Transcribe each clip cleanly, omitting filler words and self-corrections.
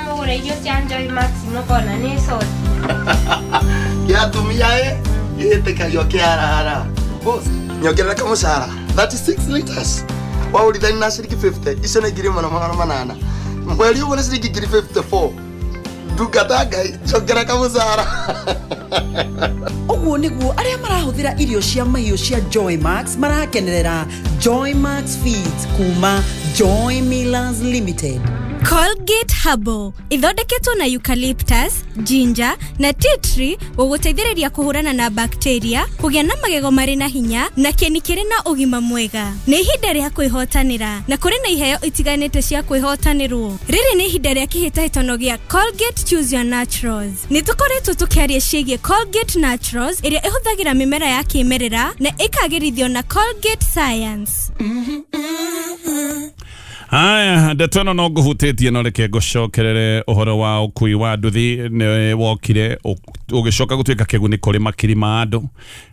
Wamũgũra irio cia Joy Max mũkona nĩ coti. Kĩa atumia ĩ gĩtĩkagio kĩarara. Boss, nyongerera kamũcara 36 liters. Waũrithani na ciringi 50, icio nĩ 1800. Mweri ũguo nĩ ciringi 54. Ndungata Ngai, njongera kamũcara. Ũguo nĩguo arĩa marahũthĩra irio cia mahiũ cia Joy Max marakenerera Joy Max Feeds kuma Joy Millers Limited. Colgate Herbal ithondeketwo na eucalyptus, ginger na tea tree gũgũteithĩrĩria kũhũrana na bacteria, kũgĩa na magego marĩ na hinya na kĩni kĩrĩ na ũgima mwega. Nĩ ihinda rĩa kwĩhotanĩra na kũrĩ na iheo itiganĩte cia kwĩhotanĩrwo. Rĩrĩ nĩ ihinda rĩa kĩhĩtahĩtano gĩa Colgate Choose Your Naturals. Nĩ tũkoretwo tũkĩaria ciĩgiĩ Colgate Naturals ĩrĩa ĩhũthagĩra mĩmera ya kĩmerera na ĩkagĩrithio na Colgate Science. Haya, ndeto ĩno no ngũhutĩtie no reke ngũcokerere ũhoro wa ũkui wa nduthi nĩ wokire ũgĩcoka gũtuĩka kĩguni kũrĩ makiri ma andũ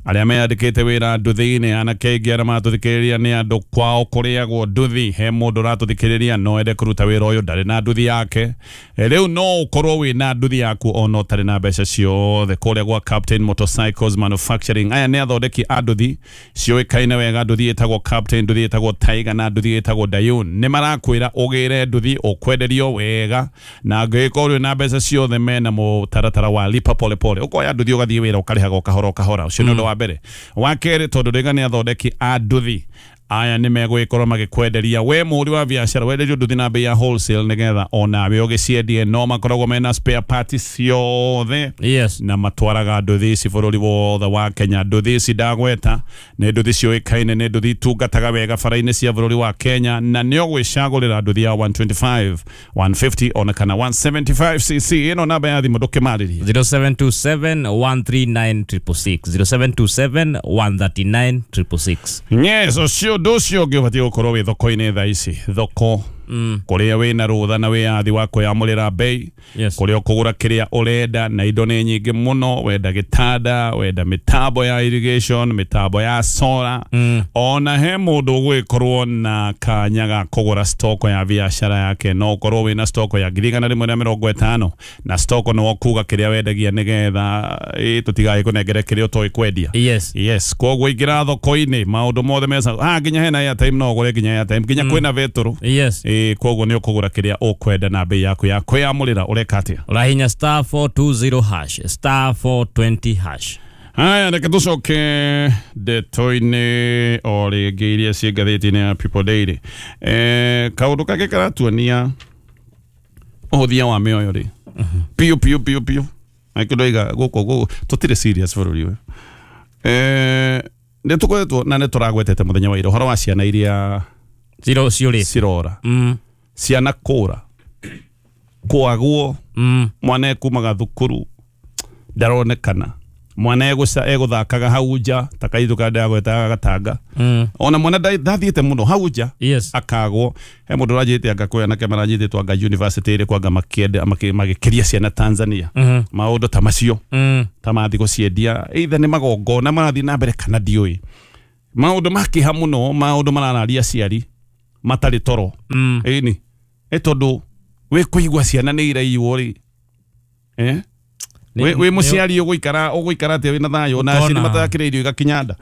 arĩa meyandĩkĩte wĩra nduthi-inĩ. Anake aingĩ arĩa maratũthikĩrĩria nĩ andũ kwao kũrĩagwo nduthi. He mũndũ ũratũthikĩrĩria no ende kũruta wĩra ũyũ ndarĩ na nduthi yake. Rĩu no ũkorwo wĩna nduthi yaku ona ũtarĩ na mbeca ciothe. Kũrĩa gwa Captain Motorcycles Manufacturing, aya nĩ athondeki a nduthi ciũĩkaine wega. Nduthi ĩtagwo Captain, nduthi ĩtagwo Tiger na nduthi ĩtagwo Dayun. Nĩ marakwĩra ũgĩre nduthi ũkwenderio wega, na angĩgĩkorwo wĩ na mbeca ciothe mena mũtaratara wa lipa pole pole. Ũkoya nduthi ũgathiĩ wĩra ũkarĩhaga o kahora o kahora. Ũcio nĩ ũndũ wa mbere. Wa kerĩ, tondũ rĩga nĩ athondeki a nduthi aya nĩ megũgĩkorwo magĩkwenderia we mũhũri wa biacara, wenderio nduthi na bei ya wholesale nĩgetha onawe ũgĩciendie. No makoragwo mena spare parts ciothe. Yes. Na matwaraga nduthi ici bũrũri wothe wa Kenya. Nduthi ici ndagweta nĩ nduthi ciũĩkaine, nĩ nduthi itungataga wega bara-inĩ cia bũrũri wa Kenya, na nĩ ũgwĩcagũrĩra nduthi ya 125, 150 ona kana 175 cc. Ĩno namba ya thimũ ndũkĩmarĩrie. 0727 139 666, 0727 139 666. Yes, ũcio ũndũ ũcio ũngĩ ũbatiĩ gũkorwo wĩ thoko-inĩ thaa ici, thoko kũrĩa wĩna rũtha na wĩyathi wa kwĩyamũrĩra bei. Yes. Kũrĩa ũkũgũra kĩrĩa ũrenda na indo nĩ nyingĩ mũno. Wenda gĩtanda, wenda mĩtambo ya irrigation, mĩtambo ya solar, ona he mũndũ ũgũgĩkorwo na kanya ga kũgũra stoko ya biacara yake. No ũkorwo wĩna stoko ya 150,000 na stoko nĩ ũkuga kĩrĩa wendagia nĩgetha tũtigagĩkũnengere kĩrĩa ũtoĩ kwendia. Yes. Yes, koguo ingĩra thoko-inĩ maũndũ mothe mesa nginya hena airtime no ũgũre nginya airtime, nginya kwĩna betũrũ. Yes. Koguo nĩ ũkũgũra kĩrĩa ũkwenda na bei yaku ya kwĩyamũrĩra. Ũreka atĩa? Ũrahinya star 420 hash, star 420 hash. Haya, reke tũcoke ndeto-inĩ o rĩngĩ iria ciĩ ngathĩti-inĩ ya People Daily. Kaũndũ kangĩ karatuonia ũhũthia wa mĩoyo rĩ piũ piũ piũ piũ nakĩo ndoiga gũkũ gũkũ tũtirĩ serious bũrũri ũyũ. Nĩ tũkoretwo na nĩ tũragwetete mũthenya wa ira ũhoro wa ciana iria Zero ciũrĩte. cirora, ciana kũra kwagwo, mwana ekumaga thukuru ndaronekana, mwana egũthakaga hau nja ta kaitũ karĩa ndĩragwetaga gatanga, ona mwana ndathiĩte mũno hau nja. Yes. Akagwo. He mũndũ ũranjĩte anga kwĩ anake maranyitĩtwo anga university ĩrĩkũ anga magĩkĩria ciana Tanzania, maũndũ ta macio, ta mathiĩ gũciendia either nĩ magongona marathiĩ na mbere kana ndiũĩ. Maũndũ ma kĩeha mũno, maũndũ marararia aciari matarĩ toro. Ĩni ĩ tondũ wĩ kũigua ciana nĩ iraiywo rĩ, wĩ mũciari ũgũikara atĩa wĩna thayũ na aciari Ũkona. matakĩrĩ irio igakinya nda?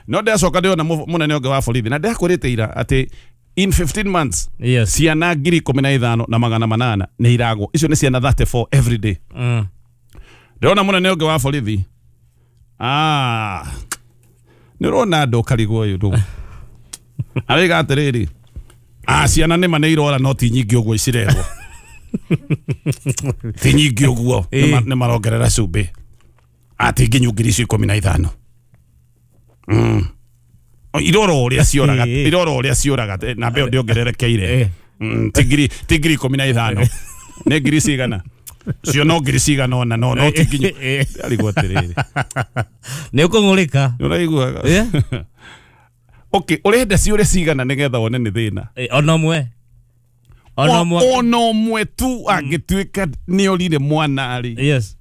No ndĩracoka ndĩrona mũnene ũngĩ wa borithi na ndĩrakwĩrĩte ira atĩ in 15 months Yes. ciana 15,800 nĩ iragwo. Icio nĩ ciana 34 every day. Ndĩrona mũnene ũngĩ wa borithi, nĩ ũrona andũ ũkarigwo ũyũ ndũ araiga atĩrĩrĩ, ciana nĩma nĩ irora no ti nyingĩ ũguo icirerwo, ti nyingĩ ũguo, nĩ marongerera cumbĩ ati nginyu 15,000. Irora ũrĩa cioraga, irora ũrĩa cioraga, na mbeo ndĩongererekeire. Ti 15,000, nĩ ngiri cigana cio, no ngiri cigana ona no ti nginyu. Arigwo atĩrĩrĩ, Nĩ ũkũng'ũrĩka. nĩ ũraigua? Okay, ũrenda ciũre cigana nĩgetha wone nĩ thĩna? Ona ũmwe. Ona ũmwe. Ona ũmwe tu angĩtuĩka nĩ orire mwana rĩ. Yes.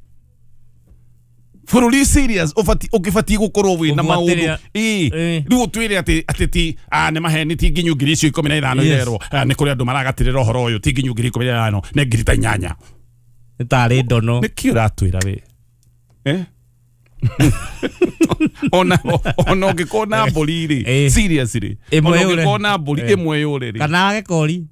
Bũrũri serious ũgĩbatiĩ gũkorwo wĩna maũndũ rĩu ũtwĩre atĩ ti nĩ maheni ti nginyu ngiri icio 15 irerwo nĩ kũrĩ andũ maragatirĩra ũhoro ũyũ ti nginyu ngiri 15 nĩ ngiri ta 8 nĩ tarĩ ndono nĩkĩ ũratwĩra we ona ũngĩkorwo na mbũri rĩ seriously ona ũngĩkorwo na mbũri ĩmwe yũre rĩ kana gĩkori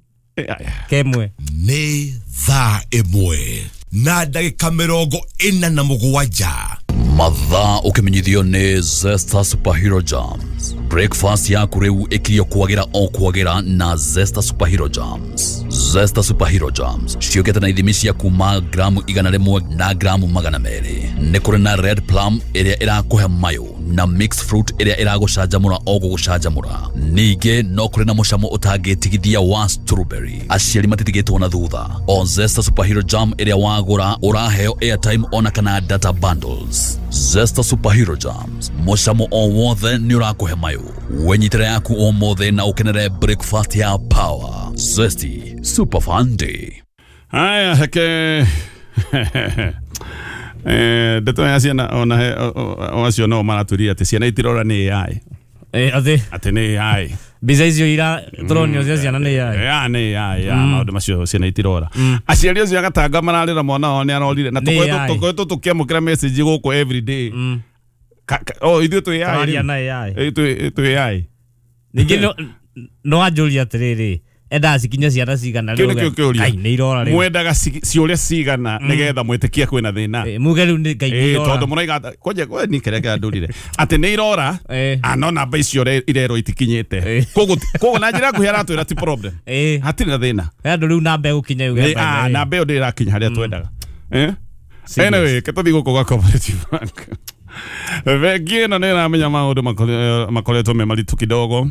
kemwe nĩ thaa 1 na ndagĩka 47. Mathaa ũkĩmenyithio nĩ Zesta Superhero Jams. Breakfast yaku rĩu ĩkirio kwagĩra o kwagĩra na Zesta Superhero Jams. Zesta Superhero Jams ciũkĩte na ithimi cia kuma gramu 100 na gramu 200. Nĩ kũrĩ na red plum ĩrĩa ĩrakũhe mayo na mixed fruit ĩrĩa ĩragũcanjamũra o gũgũcanjamũra. Ningĩ no kũrĩ na mũcamo ũtangĩtigithia wa strawberry. Aciari matitigĩtwo na thutha. O Zesta Superhero Jam ĩrĩa wagũra ũraheo airtime ona kana data bundles. Zesta Superhero Jams mũcamo o wothe nĩ ũrakũhe mayo. Wenyitĩra yaku o mothe na ũkenere breakfast ya power. Zesty Super Fun Day. Haya heke ndeto ya ciana ona acio no maratũria atĩ ciana itirora nĩ AI. Atĩ nĩ AI. Mbica icio ira tũronio cia ciana nĩ AI. Ya nĩ AI ya maũndũ macio ciana itirora. Aciari acio agatanga mararĩra mwana wao nĩ arorire na tũkoretwo tũkĩamũkĩra message gũkũ every day. Oh ithuĩ twĩ AI. Tũraria na AI. Twĩ AI. Ningĩ no anjũria atĩrĩrĩ endaga cikinye ciana cigana rĩu Ngai nĩ irora rĩu mwendaga ciũria cigana nĩgetha mwĩtĩkie kwĩna thĩna muge rĩu nĩ Ngai nĩ irora tondũ mũraiga kwanja ni kĩrĩa kĩrandũrire atĩ nĩ irora no namba icio irerwo itikinyĩte koguo na njĩra nguhĩ aratwĩra ti problem hatirĩ na thĩna andũ rĩu namba ĩgũkinya yuge namba ĩyo ndĩrakinya harĩa twendaga anyway ketũthiĩ gũkũ gwa Cooperative Bank. Bengi ĩno nĩ ĩramenya maũndũ makoretwo me maritũ kidogo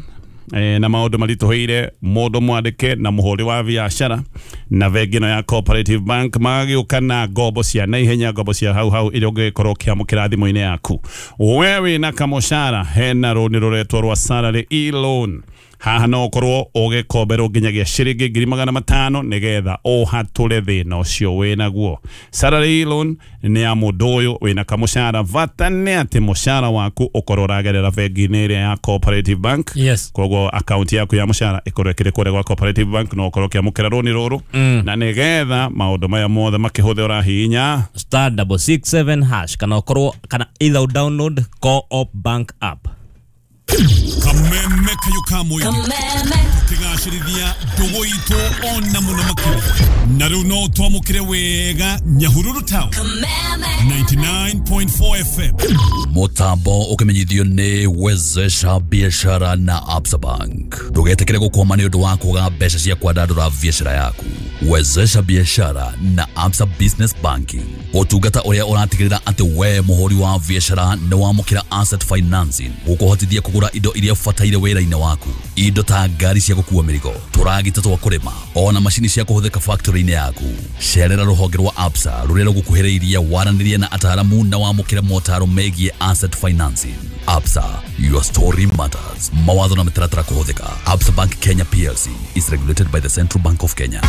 na maũndũ maritũhĩire mũndũ mwandĩke na mũhũri wa biacara na bengi ĩno ya Cooperative Bank magagĩũka na ngombo cia naihenya ngombo cia hau hau iria ũngĩkorwo ũkĩamũkĩra thimũ-inĩ yaku. We wĩna kamũcara hena rũni rũretwo rwa salary e-loan. Haha no ũkorwo ũgĩkomberwo nginyagia ciringi 500,000 nĩgetha ũhatũre thĩna ũcio wĩnaguo. Salary loan nĩ ya mũndũ ũyũ wĩna kamũcara, bata nĩ atĩ mũcara waku ũkorwo ũragerera bengi-inĩ ĩrĩa ya Cooperative Bank. Yes. Koguo akaunti yaku ya mũcara ĩkorwo ĩkĩrĩ kũrĩa gwa Cooperative Bank no ũkorwo ũkĩamũkĩra rũni rũrũ na nĩgetha maũndũ maya mothe makĩhũthĩra ũrahihinya *667# kana ũkorwo kana either download Co-op Bank app. Kameme kayo kamwe tukigacirithia ndugu itu ona muno makĩria na rĩu no twamũkĩre wega Nyahururu Town 99.4 FM. Mutambo ũkĩmenyithio nĩ Wezesha Biashara na Absa Bank. Ndũgetĩkĩre gũkwama nĩ ũndũ wa kwaga mbeca cia kwandandũra biacara yaku. Wezesha Biashara na Absa Business Banking, ũtungata ũrĩa ũratigĩrĩra atĩ we mũhũri wa biacara nĩ wamũkĩra asset financing gũkũhotithia kũgũra indo iria ũbataire wĩra-inĩ waku, indo ta ngari cia gũkua mĩrigo, tũragita twa kũrĩma, ona macini cia kũhũthĩka factory-inĩ yaku. Cerera rũhonge rwa Absa rũrĩa rũgũkuhĩrĩirie waranĩrie na ataaramu na wamũkĩre motaro megiĩ asset financing. Absa, your story matters. Mawatho na mĩtaratara kũhũthĩka. Absa Bank Kenya PLC is regulated by the Central Bank of Kenya.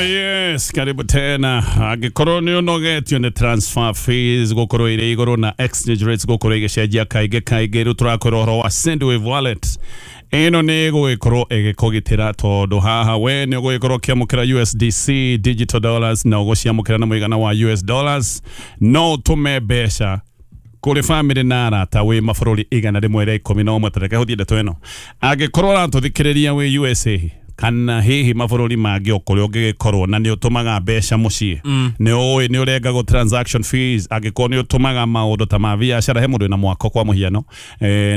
Yes, karibu tena. Angĩkorwo nĩ ũnogetio nĩ transfer fees gũkorwo irĩ igũrũ na exchange rates gũkorwo igĩcenjia kaingĩ kaingĩ, rĩu tũrakwĩra ũhoro wa Sendwave Wallet. Ĩno nĩ ĩgũgĩkorwo ĩgĩkũgitĩra tondũ haha we nĩ ũgũgĩkorwo ũkĩamũkĩra USDC digital dollars na ũgũciamũkĩra na mũigana wa US dollars. No ũtũme mbeca kũrĩ family na arata wĩ mabũrũri 111. Tareke hũthie ndeto ĩno. Angĩkorwo ũratũthikĩrĩria wĩ USA kana hihi mabũrũri mangĩ o kũrĩa ũngĩgĩkorwo na nĩ ũtũmaga mbeca mũciĩ, nĩ ũĩ nĩ ũrengagwo transaction fees, angĩkorwo nĩ ũtũmaga maũndũ ta ma biacara, he mũndũ wĩna mwako kwa mũhiano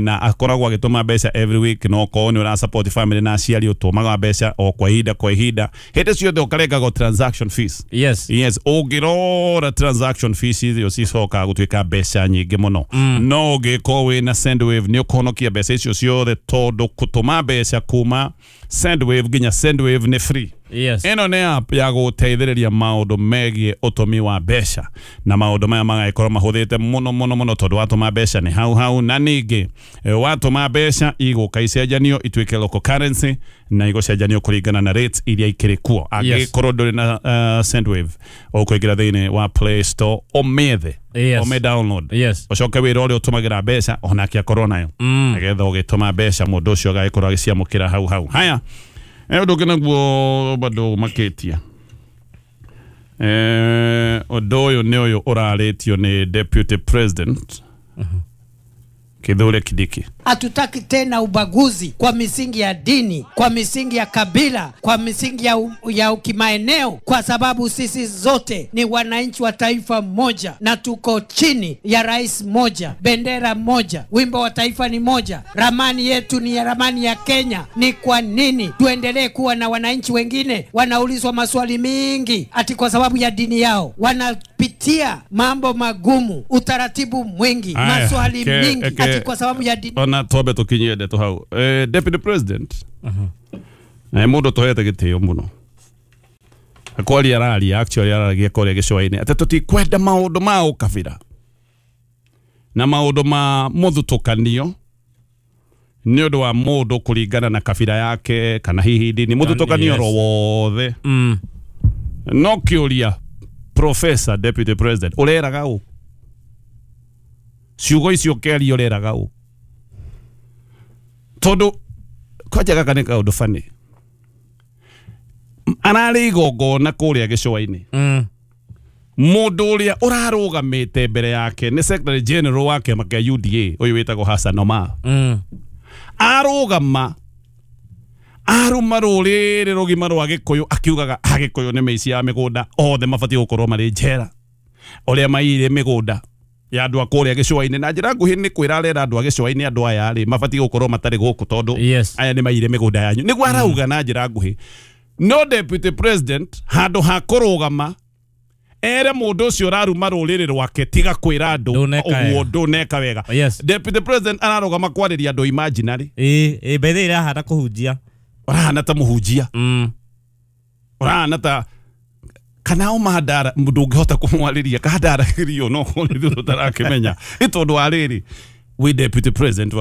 na akoragwo agĩtũma mbeca every week, no okorwo nĩ ũra support family na aciari ũtũmaga mbeca o kwa ihinda kwa ihinda, hĩndĩ ciothe ũkarengagwo transaction fees. Yes. Yes, ũngĩrora transaction fees icio cicokaga gũtuĩka mbeca nyingĩ mũno. No ũngĩkorwo wĩna Sendwave nĩ ũkũhonokia mbeca icio ciothe tondũ gũtũma mbeca kuma Sendwave nginya Sendwave nĩ free. Yes. Ĩno nĩ app ya gũteithĩrĩria maũndũ megiĩ ũtũmi wa mbeca na maũndũ maya magagĩkorwo mahũthĩte mũno mũno mũno tondũ watũma mbeca nĩ hau hau, na ningĩ watũma mbeca igũka icenjanio ituĩke local currency na igũcenjanio kũringana na rates iria ikĩrĩ kuo. Angĩkorwo ndũrĩ na Sendwave, ũkũingĩra thĩinĩ wa Play Store ũmĩethe, ũmĩ download, ũcoke wĩra ũrĩa ũtũmagĩra mbeca onake akorwo nayo, nĩgetha ũgĩtũma mbeca mũndũ ũcio agagĩkorwo agĩciamũkĩra hau hau. Haya, ũndũ ũngĩ naguo bado makĩtia ũndũ ũyũ nĩ ũyũ ũrarĩtio nĩ Deputy President Kithure Kindiki. Hatutaki tena ubaguzi kwa misingi ya dini, kwa misingi ya kabila, kwa misingi ya kimaeneo, kwa sababu sisi zote ni wananchi wa taifa moja na tuko chini ya rais moja, bendera moja, wimbo wa taifa ni moja, ramani yetu ni ramani ya Kenya. Ni kwa nini tuendelee kuwa na wananchi wengine wanaulizwa maswali mingi ati kwa sababu ya dini yao? Wanapitia mambo magumu, utaratibu mwingi, maswali mingi ati kwa sababu ya dini. Ona twambe tukinyie ndeto hau. Deputy President mũndũ tũhete gĩtĩo mũno akwaria araria, actually araragia kũrĩa gĩcũa-inĩ atĩ tũtikwenda maũndũ ma ũkabira na maũndũ ma mũthutũkanio nĩ ũndũ wa mũndũ kũringana na kabira yake kana hihi dini, mũthutũkanio ro wothe. No kĩũria, Professor Deputy President, ũreraga ũ? Ciugo icio ũkĩaria ũreraga ũ? Tondũ kwanja gaka nĩ kaũndũ funny. Ararĩ igongona kũrĩa gĩcũa-inĩ. Mũndũ ũrĩa ũrarũgamĩte mbere yake nĩ Secretary General wa kĩama kĩa UDA ũyũ wĩtagwo Hassan Omar. Arũgama aruma rũrĩrĩ rũgima rwa Gĩkũyũ akiugaga Agĩkũyũ nĩ mĩici ya mĩgũnda, othe mabatiĩ gũkorwo marĩ njera ũrĩa maiyire mĩgũnda ya andũ a kũrĩa gĩcũa-inĩ. Na njĩra nguhĩ nĩ kwĩra arera andũ a gĩcũa-inĩ andũ aya rĩ mabatiĩ gũkorwo matarĩ gũkũ tondũ aya nĩ maiyire mĩgũnda yanyu, nĩguo arauga na njĩra nguhĩ. No Deputy President handũ ha kũrũgama ere mũndũ ũcio ũraruma rũrĩrĩ rwake tiga kwĩra andũ ũguo ndũneka wega. Deputy President ararũgama kwarĩria andũ imaginary. Bethe irahana kũhunjia, ũrahana ta mũhunjia, ũrahana ta kana o mandara mũndũ ũngĩhota kũmwarĩria kandaragĩrio no nĩ tũtarakĩmenya nĩ tondũ wa rĩrĩ wĩ Deputy President wa